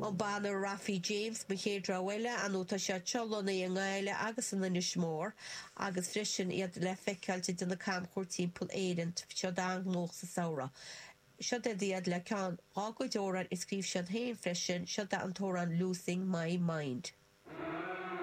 An banna Rafi James, mo chéad rogha eile, ar ndóigh tá siad seo lonnaithe i nGaillimh agus in Inis Mór agus freisin iad le feiceáilt ag déanamh camchuairt timpeall Éireann. Siad an-ghnóthach sa samhradh. Siod iad iad le ceann dhá gcuid amhráin a scríobh siad féin freisin, siod é an t-amhrán Losing My Mind.